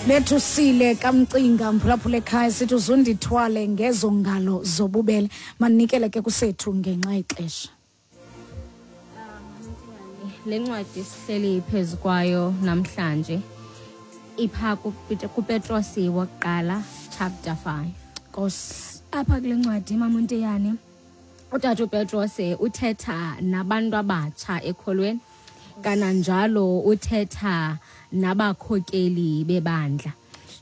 Bethusile kamcinga mphulaphula ekhaya sithi uzundithwale ngezo ngalo zobubele. Manikele ke kusethu ngenxa yexesha. Le ncwadi sihleli phezu kwayo namhlanje ipha kuPetrosi wokuqala chapter 5. Nkosi. Apha kule ncwadi mamunteyane utata uPetros uthetha nabantu abatsha ekholweni kananjalo uthetha nabakhokeli bebandla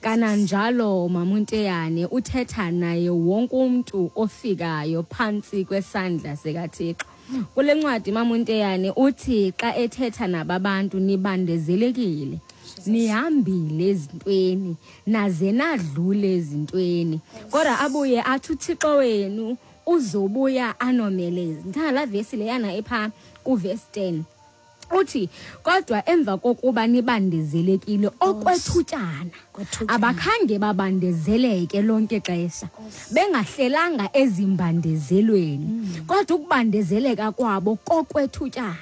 kananjalo mamunteyane uthetha naye wonke umntu ofikayo phantsi kwesandla sikaThixo. Kule ncwadi mamunteyane uthi xa ethetha nababantu nibandezelekile nihambile ezintweni naze nadlule ezintweni kodwa abuye athi uThixo wenu uzobuya anomeleze. Ndithanda laa vesi leyana epha kuvesi 10 uthi kodwa emva kokuba nibandezelekile okwethutyana abakhange babandezeleke lonke ixesha bengahlelanga ezimbandezelweni kodwa ukubandezeleka kwabo kokwethutyana.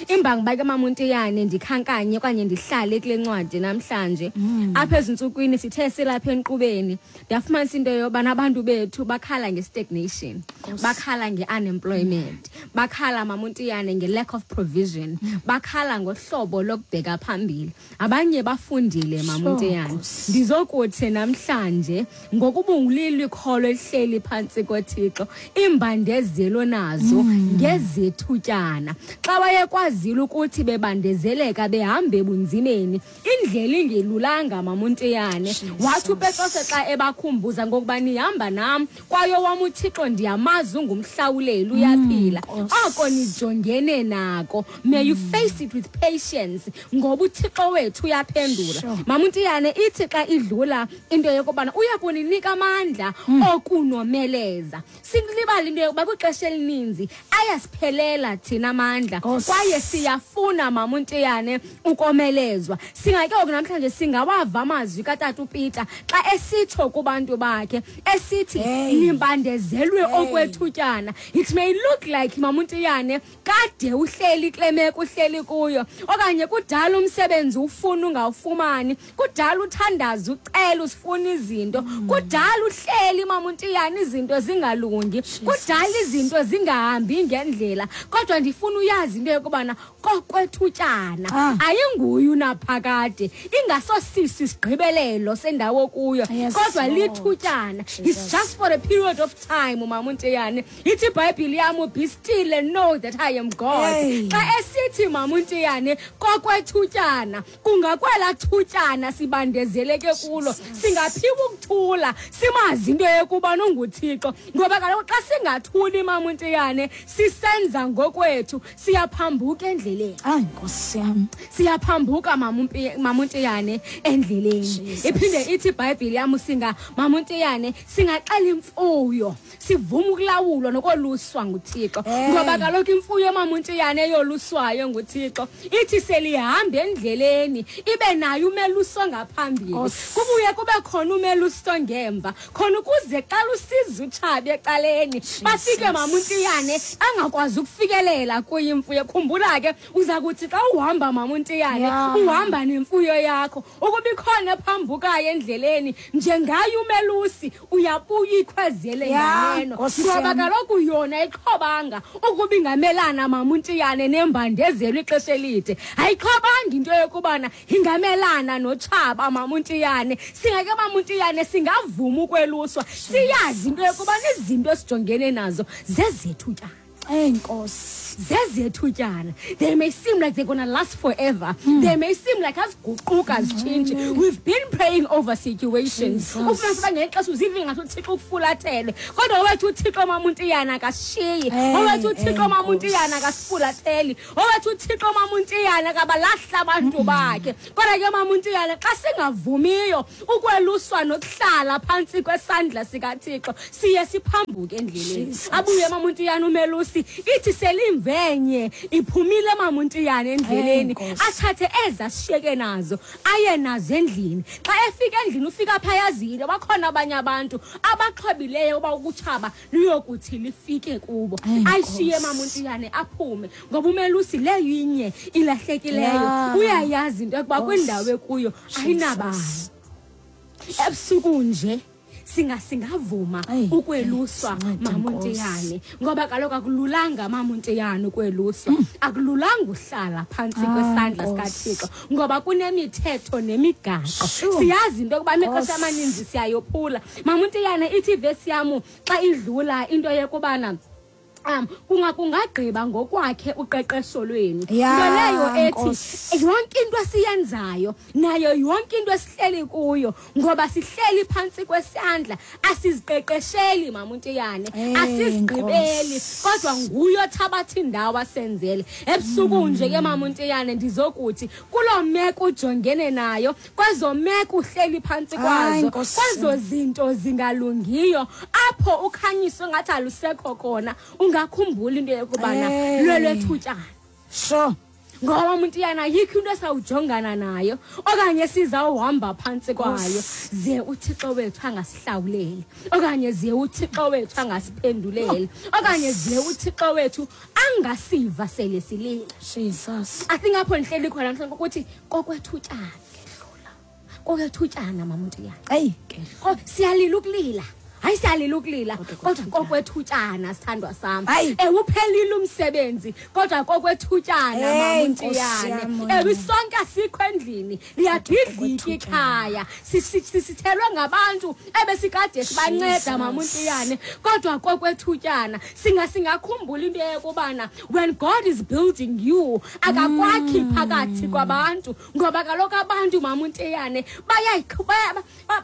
Imbangi bake mamuntiyane ndikhankanye okanye ndihlale kule ncwadi namhlanje. Apha ezintsukwini sithe silapha enkqubeni ndafumanisa into yobana abantu bethu bakhala nge-stagnation, bakhala nge-unemployment, bakhala mamuntiyane nge-lack of provision, bakhala ngohlobo lokubheka phambili. Abanye bafundile mamuntiyane. Ndizokuthi namhlanje ngokuba ungulilo ikholo elihleli phantsi koThixo, iimbandezelo nazo ngezethutyana. Xa wayekwazile ukuthi bebandezeleka behamba ebunzimeni, indlela ingelulanga mamuntiyane, wathi uPetrose xa ebakhumbuza ngokuba nihamba nam kwaye wam uThixo ndiyamazi ungumhlawuleli uyaphila, oko nijongene nako may you face it with patience ngoba uThixo wethu uyaphendula. Mamuntiyane ithi xa idlula into yokubana uya kuninika amandla okunomeleza. Silibala into yokuba kwixesha elininzi ayasiphelela thina amandla kwaye siyafuna mamuntiyane ukomelezwa. Singake oku namhlanje singawava amazwi katata uPeter xa esitsho kubantu bakhe esithi nibandezelwe okwethutyana. It may look like mamuntiyane kade uhleli kule meko uhleli kuyo okanye kudala umsebenzi ufuna ungawufumani, kudala uthandaza ucela usifuna izinto, kudala uhleli mamuntiyane izinto zingalungi, kudala izinto zingahambi ngendlela, kodwa ndifuna uyazi into yokubana kokwethutyana ayinguye unaphakade, ingasosisi isigqibelelo sendawo kuyo, kodwa lithutyana. It's just for a period of time mamuntiyane. Ithi iBhayibhile yam, be still and know that I am God. Xa esithi mamuntiyane kokwethutyana, kungakwela thutyana sibandezeleke kulo, singaphiwa ukuthula simazi into yokuba nonguThixo, ngoba kaloku xa singathuli mamuntiyane sisenza ngokwethu siyaphambuka endleleni. Hayi Nkosi yam, siyaphambuka mamuntiyane endleleni. Iphinde ithi iBhayibhile yam singa mamuntiyane singaxela imfuyo sivuma ukulawulwa nokoluswa nguThixo, ngoba kaloku imfuyo mamuntiyane eyoluswayo nguThixo ithi selihamba endleleni ibe nayo umeluso ngaphambili, kubuye kube khona umeluso ngemva, khona ukuze xa lusiza utshabe ecaleni bafike mamuntiyane angakwazi ukufikelela kuyo imfuyo. Khumbula ke uza kuthi xa uhamba mamuntiyane uhamba nemfuyo yakho, ukuba ikhona ephambukayo endleleni njengaye umelusi uyabuya ikhwezele nganeno, ngoba kaloku yona ayixhobanga ukuba ingamelana mamuntiyane nembandezelo ixesha elide, ayixhobanga into yokubana ingamelana notshaba mamuntiyane. Singake mamuntiyane singavuma ukweluswa, siyazi into yokuba nezinto esijongene nazo zezethutyana. Enkosi. Zezethutyana. They may seem like they're gonna last forever. They may seem like aziguquka zitshintshe. We've been praying over situations. Ufumanise uba ngexesha uzive ngathi uThixo ukufulathele, kodwa owethu uThixo mamuntiyana akashiyi, owethu uThixo mamuntiyana akasifulatheli, owethu uThixo mamuntiyana akabalahla abantu bakhe. Kodwa ke mamuntiyana xa singavumiyo ukweluswa nokuhlala phantsi kwesandla sikaThixo siye siphambuke endleleni. Abuye mamuntiyana umelusi ithi selimvenye iphumile mamuntiyana endleleni, athathe ezashiyeke nazo aye nazo endlini. Xa efika endlini ufika phayazile bakhona abanye abantu abaxhobileyo uba ukutshaba luyokuthi lifike kubo, ayishiye mamuntiyane aphume, ngoba umelusi leyo inye ilahlekileyo uyayazi into yokuba kwindawo ekuyo ayinabani. Ebusuku nje singavuma ukweluswa mamuntiyane, ngoba kaloku akululanga mamuntiyane ukweluswa, akululanga uhlala phantsi kwesandla sikaThixo, ngoba kunemithetho nemigaqo. Siyazi into yokuba amaxesha amaninzi siyayophula. Mamuntiyane, ithi ivesi yam xa idlula into yokubana kungagqiba ngokwakhe uqeqesho lwenu. Nto leyo ethi yonke into esiyenzayo nayo yonke into esihleli kuyo, ngoba sihleli phantsi kwesandla, asiziqeqesheli mamuntiyane, asizigqibeli, kodwa nguye othabatha indawo asenzele. Ebusuku nje ke mamuntiyane, ndizokuthi kuloo meko ujongene nayo, kwezo meko uhleli phantsi kwazo, kwezo zinto zingalungiyo, apho ukhanyiswe ngathi alusekho khona, ungakhumbula into yokubana lwelwethutyana. Sure. Ngoba umuntu yana ayikho into esawujongana nayo okanye sizawuhamba phantsi kwayo, ze uThixo wethu angasihlawuleli, okanye ze uThixo wethu angasiphenduleli, okanye ze uThixo wethu angasiva sele silila. Jesus. I think apho ndihleli khona mhlawumbi ukuthi kokwethutyana, kokwethutyana mamuntiyana. Eyi ke. Siyalila ukulila. Hayi, siyalila ukulila, kodwa kokwethutyana, sithandwa sam. Uphelile umsebenzi, kodwa kokwethutyana mamuntiyane. Ewe, isonke asikho endlini, liyabhidlika ikhaya, sisithelwe ngabantu ebesikade sibanceda mamuntiyane, kodwa kokwethutyana. Singakhumbula into yokubana when God is building you, akakwakhi phakathi kwabantu, ngoba kaloku abantu mamuntiyane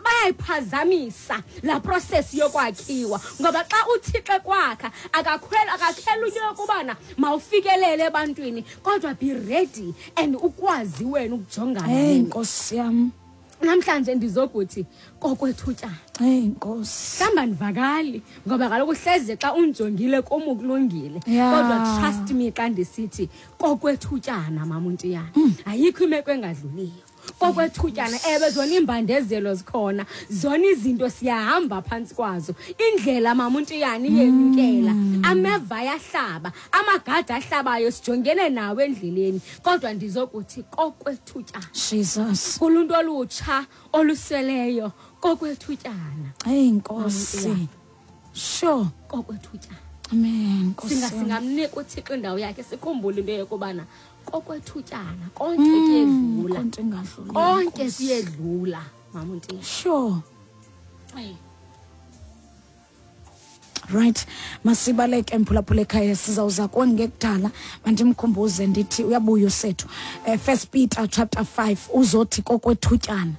bayayiphazamisa la process yokwakhiwa, ngoba xa uThixo kwakha akakhela into yokubana mawufikelele ebantwini, kodwa be ready and ukwazi wena ukujongana. Hey Nkosi yam, namhlanje ndizokuthi kokwethutyana. Hey Nkosi. Mhlawumbi andivakali, ngoba kaloku hleze xa unjongile kum ukulungile, kodwa trust me xa ndisithi kokwethutyana mamuntiyana, ayikho imeko engadluliyo. Kokwethutyana. Ewe, zona iimbandezelo zikhona, zona izinto siyahamba phantsi kwazo, indlela mamuntiyana iyenyukela, ameva ayahlaba, amagada ahlabayo, sijongene nawo endleleni, kodwa ndizokuthi kokwethutyana. Jesus. Kuluntu olutsha oluseleyo, kokwethutyana. Hey Nkosi. Sure. Kokwethutyana. Amen. Nkosi. Singamnika uThixo indawo yakhe, sikhumbule into yokubana kokwethutyana, konke kuyedlula. Konke kuyedlula mamunti. Sure. Right, masibaleke mphulaphula ekhaya, sizawuza kongekudala. Mandimkhumbuze ndithi uyabuya usethu. First Peter chapter 5 uzothi kokwethutyana.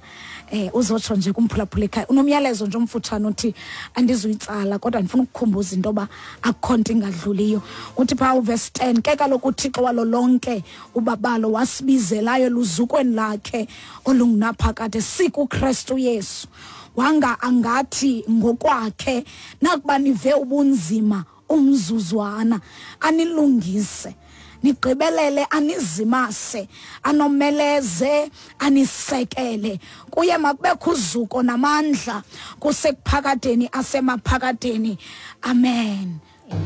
Uzotsho nje kumphulaphula ekhaya. Unomyalezo nje omfutshane uthi andizuyitsala, kodwa ndifuna ukukhumbuza into yoba akukho nto ingadluliyo. Uthi phaa uverse 10, ke kaloku uThixo walo lonke ubabalo wasibizelayo eluzukweni lakhe olungunaphakade sikuKristu Yesu. Wanga angathi ngokwakhe nakuba nive ubunzima umzuzwana, anilungise, nigqibelele, anizimase, anomeleze, anisekele. Kuye makubekho uzuko namandla kusekuphakadeni asemaphakadeni. Amen.